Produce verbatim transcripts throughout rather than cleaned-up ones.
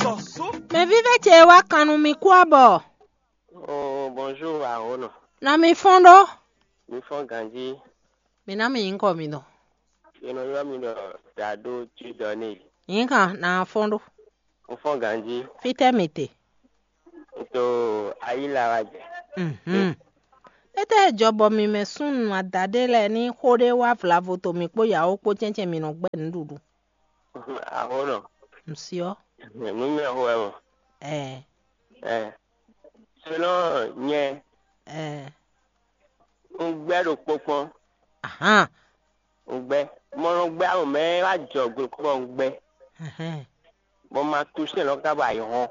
Mɛ vívɛ́ ce wá kan nú mi kú abɔ. Oh, bonjour, Ahono. Nɔ mi fɔ́n ɖó. Mi fɔ́n ganjí. Mi ná mi nyǐkɔ mi dɔn. È nɔ ylɔ́ mi ɖɔ Dado Judɔ́ n'i. Nyǐkan ná fɔ́n ɖó. Un fɔ́n ganjí. Fítɛ́ mi te? Un to Ayíla wá jɛ. Mhm. Étɛ́ jɔ bɔ mi mɛ súnnu adaɖé lɛ́ɛ ní xó ɖé wá vlavo to mi kpó yǎwo kpó cɛ́ncɛ́n mi nɔ gbɛ́ nǔɖuɖu? Ahono. Msyɔ. Nú mɛ xo wɛ mɔ. Ɛɛ. Ɛɛ. Selon nyɛ, Ɛɛ. Un gbɛ́ ɖo kpɔ́kpɔ́n. Ahan. Un gbɛ́. Mɔ nɔ gbɛ́ amɔ mɛ wá jɔ gbe kpɔ́ un gbɛ́. Ɛhɛn. Bɔ ma tu sɛn lɔ ka ba yi hɔn.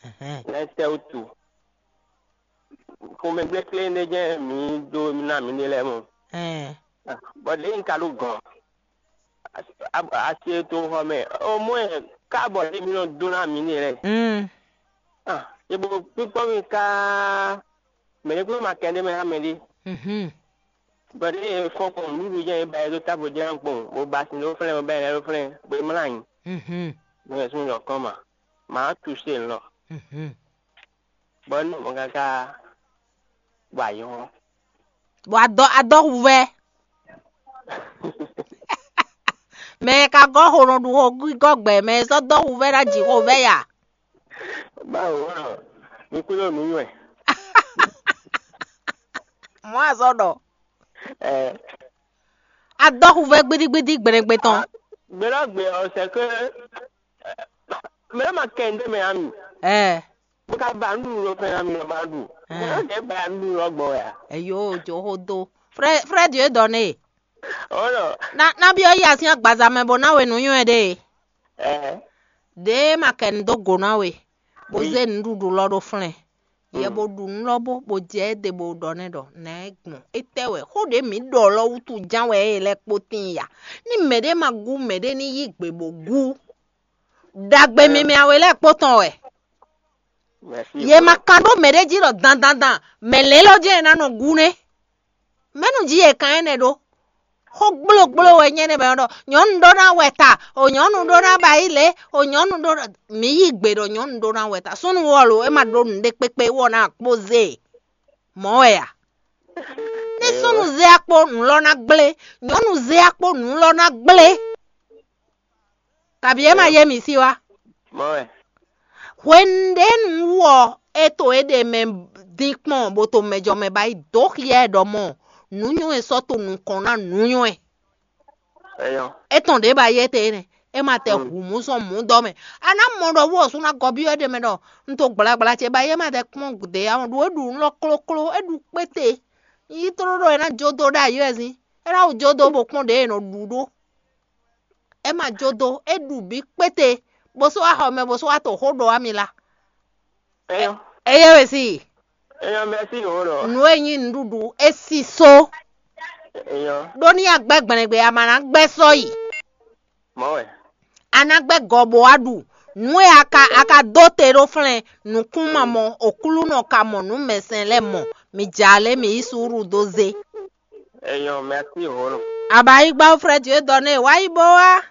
Ɛhɛn. Lɛ tɛ wútu. Xomɛgblékplé ɖé jɛ́n mǐ ɖó ná mǐ ɖe lɛ́ɛ mɔ. Ɛɛ. Bɔ ɖěe un ka ɖó gɔ̌n. Asi e to xɔ mɛ. O mɔ ɛ ká bɔ ɖě mǐ nɔ dó ná mǐ ɖe lɛ́ɛ. Mm. Ah, e bo kpíkpɔ́ mì káá, mɛ̌ ɖě kpé ma kɛ ɖé mɛ xá mɛ ɖé. Mhm. Bɔ ɖě e fɔ́n kpɔn nǔɖuɖu jɛ́n e ba ɛ dó távo jɛ́n kpɔn, bó ba sin ɖó flɛ́n, bó ba ɛ lɛ́ ɖó flɛ́n, bó é mlá anyi. Mhm. Mo yɛ súnnu yɔ kɔn ma, mǎ tu se lɔ. Mhm. Bɔ nú mɔ káká bɔ ayɔ. Bɔ adɔ adɔ huvɛ. Mɛ e ka gɔ́ xo nɔ ɖu xo gɔ́ gbɛ, mɛ e sɔ́ dɔ́ huvɛ ná jǐ xo vɛ ya. Báwo ɔ́, mi kú ló nǔ nywɛ. Mɔ̌ a sɔ́ ɖɔ. Ɛ. A dɔ́ huvɛ gbídígbídí gbɛɖɛgbɛ tɔn. Gbɛɖɔ́gbɛ ɔ́, c'est que mɛ ma kɛ ndé mɛ ami. Ɛ. Bó ka ba nǔɖuɖu lɔ fɛn ami lɔ ba ɖu. Ɛ. Mɛ ɖě ba nǔɖuɖu lɔ gbɔ wɛ a? Eyo, jo xo do. Frɛ frɛ Dieu donné. Ɔlɔ. Na na byɔ́ yi asin agbaza mɛ bó ná we nǔ nywɛ ɖe. Ɛ. Ɖě ma kɛ nu dó go ná we, bó Oui. Zé nǔɖuɖu lɔ ɖó flɛ́n. Yɛ Mm. Bó ɖu nǔ lɔ bó bó jɛ é ɖe bó ɖɔ nɛ́ ɖɔ nɛ̌ gbɔn étɛ́ wɛ xó ɖě mǐ ɖɔ lɔ wútu ján wɛ é lɛ́ kpó tíin ya. Ní mɛɖé ma gú mɛɖé ní yí gbe bó gú. Ɖagbe Ɛɛ. Mimɛ awe lɛ́ɛ kpó tɔn wɛ. Merci. Yě ma kan ɖó mɛɖé jí ɖɔ dandandan mɛ lɛ́ lɔ jɛ́n è ná nɔ gú nɛ́. Mɛ̌nu jí è kan énɛ́ ɖó? Xó gblógbló wɛ nyɛ nɛ́ bɔ è nɔ ɖɔ nyɔ̌nu ɖó ná wɛ ta, o nyɔ̌nu ɖó ná ba yí lě, o nyɔ̌nu ɖó ná mǐ yí gbe ɖɔ nyɔ̌nu ɖó ná wɛ ta. Súnnu wɔ lo, é ma ɖó nǔɖé kpékpé wɔ ná kpó zé e. Mɔ̌ wɛ a? Ní súnnu zé akpó nǔ lɔ ná gblé, nyɔ̌nu zé akpó nǔ lɔ ná gblé. Kabi é ma yé mi sí wá. Mɔ̌ wɛ. Hwenu ɖě nu wú ɔ́, é to é ɖe mɛ dín kpɔ́n bó to mɛ jɔ mɛ ba yi dǒ xyá ɛ ɖɔ mɔ nǔnywɛ́ sɔ́ to nukɔn ná nǔnywɛ́. Eyɔ́. É tɔn ɖě ba yé te nɛ, é ma tɛ hu mǔ sɔn mǔ dɔ mɛ. A ná mɔ ɖɔ wú ɔ́ sú ná gɔ́ byɔ́ é ɖe mɛ ɖɔ un to gblagbla ce ba yé ma tɛ kpɔ́n gǔdé ya ɔ́ ɖu é ɖu nǔ lɔ klókló, é ɖu kpéte. Yí tló ɖɔ é ná jó dó ɖo ayǐ wɛ zín, é ná wú jó dó bó kpɔ́n ɖě è nɔ ɖu ɖó. É ma jó dó, é ɖu bǐ kpéte, bó sɔ́ wá xɔ mɛ, bó sɔ́ wá to xó ɖɔ wá mi la. Eyɔ́. Eye we si. Eyɔ́, merci o ɖɔ. Nǔ e nyí nǔɖuɖu, é si só. Eyɔ́. Ɖó ní agbɛ́ gblɛngbe, a ma ná gbɛ́ sɔ́ yi. Mɔ̌ wɛ. A ná gbɛ́ gɔ bó wá ɖu. Nǔ e a ka a ka dó te ɖó flɛ́n, nǔkún ma mɔ, oklúnɔ ka mɔ, nǔ mɛsɛn lɛ́ɛ mɔ. Mi jǎ lé, mi yí suúlu dó zé. Eyɔ́, merci o ɖɔ. Aba yi gbá frɛ Dieu donné, wá yi bó wá.